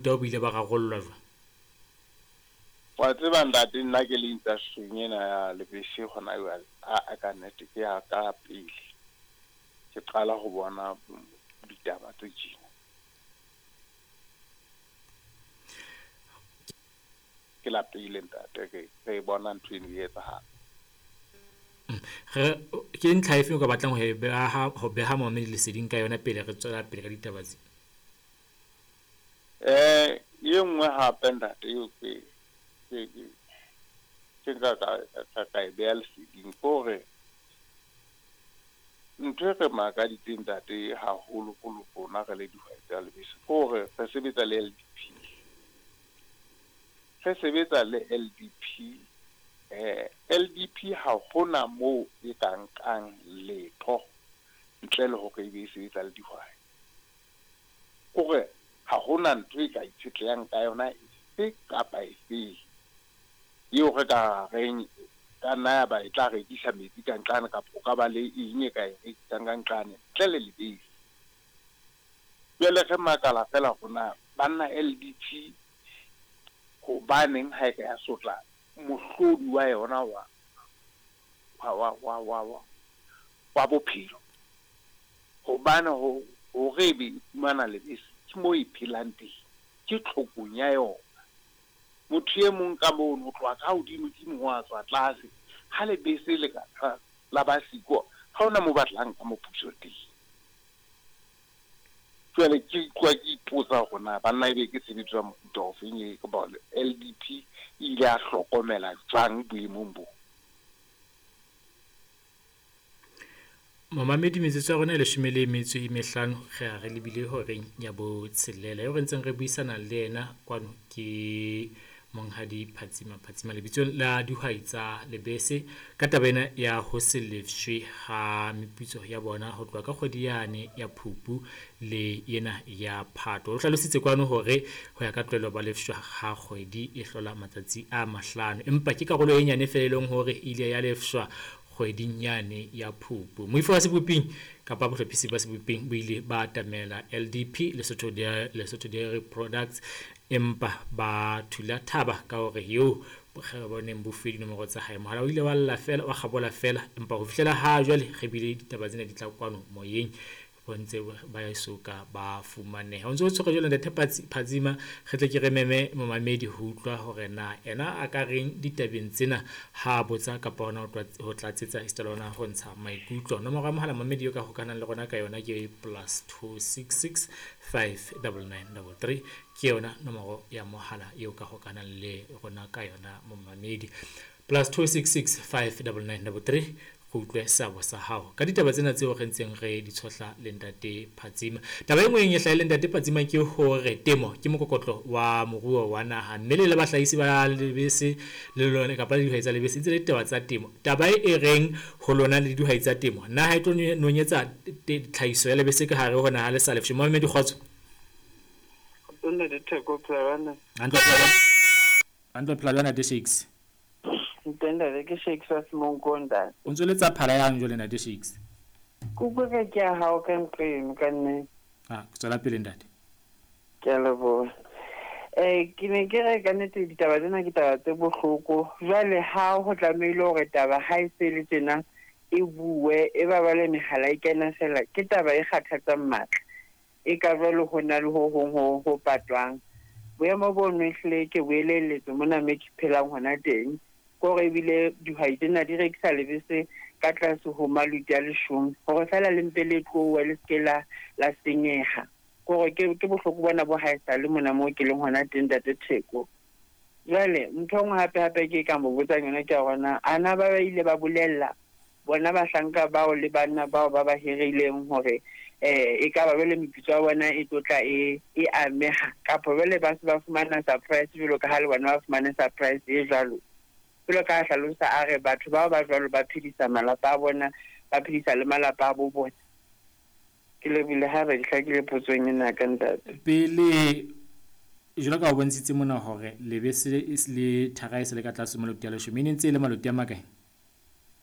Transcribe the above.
Bo ile ba rarollwa jwang? Wa tseba ntate, nna ke le industry-ing ena ya lebese hona jwale, a ka nnete ke ya ka pele ke qala ho bona ditaba tse tjena. Ke la pele ntate re bona ntho eno e etsahala. Re ke ntlha efe o ka batlang ho e beha ho beha momamedi leseding ka yona pele re tswela pele ka ditaba tse? E nngwe hape ntate eo ke ke nka ka e beha leseding ke hore ntho e re makaditseng ntate haholoholo rona re le dihwai tsa lebese ke hore re sebetsa le LDP. Re sebetsa le LDP, LDP ha hona moo e ka nkang letho ntle le hore ebe e sebetsa le dihwai. Kore ha hona ntho e ka itshetlehang ka yona efe kapa efeng eo re ka reng ka nna ya ba e tla rekisa metsi ka nqane kapa o ka ba le eng e ka e rekisang ka nqane ntle le lebese. Jwale re makala fela hore na banna LDP hobaneng ha e ka ya sotla mohlodi wa yona wa bophelo. Hobane hore ebe e fumana lebese ke moo e phelang teng, ke tlhokong ya yona. Motho e mong ka mono ho tloha ka hodimo-dimo ho a tswa tlase, ha lebese le ka la ba siko, ha hona moo ba tla nka moputso teng. Jwale ke utlwa ke ipotsa hore na banna ebe ke tshebetso ya mofuta ofeng e kapa LDP e ile ya hlokomela jwang boemong bo. Momamedi, metsotso ya rona e leshome le metso e mehlano re a re lebile horeng ya botshelela. Eo re ntseng re buisana le yena kwano ke Monghadi Phatsima Phatsima lebitsong la dihwai tsa lebese ka taba ena ya ho se lefshwe ha meputso ya bona ho tloha ka kgwedi yane ya Phupu le ena ya Phato. O hlalositse kwano hore ho ya ka tlwaelo ba lefshwa ha kgwedi e hlola matsatsi a mahlano, empa ke karolo e nyane feela e leng hore e ile ya lefshwa kgweding yane ya Phupu. Moifo wa Seboping kapa bohlophisi ba Seboping bo ile ba atamela LDP Lesotho Lesotho Dairy Products, empa ba thula thaba ka hore eo bo neng bo fuwe dinomoro tsa hae. Mohala o ile wa lla fela, wa kgabola fela, empa ho fihlela ha jwale re bile ditaba tsena di tla kwano moyeng bo ntse ba soka ba fumaneha. O ntse o tshwere jwale ntate Phatsima, re tle ke re meme momamedi ho utlwa hore na ena a ka reng ditabeng tsena ha botsa kapa hona ho tlatsetsa esita le hona ho ntsha maikutlo. Nomoro ya mohala momamedi eo ka hokahanang le rona ka yona ke +266 599 33, ke yona nomoro ya mohala eo ka hokahanang le rona ka yona momamedi. +266 599 33, go utlwe seabo sa hao ka ditaba tsena tseo re ntseng re di tshohla le ntate Phatsima. Taba e nngwe e hlahileng ntate Phatsima ke hore temo ke mokokotlo wa moruo wa naha, mme le le bahlahisi ba lebese le lona kapa le dihwai tsa lebese ntse le ditaba tsa temo. Taba e reng ho lona le dihwai tsa temo, naha e tlo nonyetsa tlhahiso ya lebese ka hare ho naha le sa lefshwe. Momamedi, kgotso. Ntate Theko, phela Hantle, phela jwang ntate Shakes? Ntate, ke Shakes wa Semonko ntate. O ntse le tsa phala yang jwale ntate Shakes? Ke utlwa ka ke ya hao ka ntlo eno ka nnete. Ah, tswela pele ntate. Ke a leboha. Ke ne ke re ka nnete ditaba tsena ke taba tse bohloko. Jwale ha ho tlamehile hore taba ha e se le tjena e bue, e ba bale mehala e kena fela, ke taba e kgathatsang matla. E ka jwale ho na le ho hong ho patwang. Boemo bono ehlile ke bo elelletswe mona me ke phelang hona teng. Kore ebile dihwai tsena di rekisa lebese ka tlase ho maluti a leshome hore fela le mpe le tlohe le seke la senyeha. Kore ke bohloko bona bo haesale mona moo ke leng hona teng ntate Theko. Jwale ntho e nngwe hape hape ke ka mo botsang yona ke ya hore na ana ba ile ba bolella bona bahlanka bao le banna bao ba ba hirileng hore e ka ba jwale meputso ya bona e tlo tla e ameha, kapa jwale ba se ba fumana surprise jwalo ka ha le bona ba fumane surprise e jwalo. Jwalo ka hlalosa a re batho bao ba jwalo ba phedisa malapa a bona, ba phedisa le malapa a bo bona. Ke lebile ha re hlakile potsong ena ka ntate. Pele jwalo ka o bontshitse mona hore lebese le thara e se le ka tlase maloti a leshome, e ne ntse e le maloti a makae?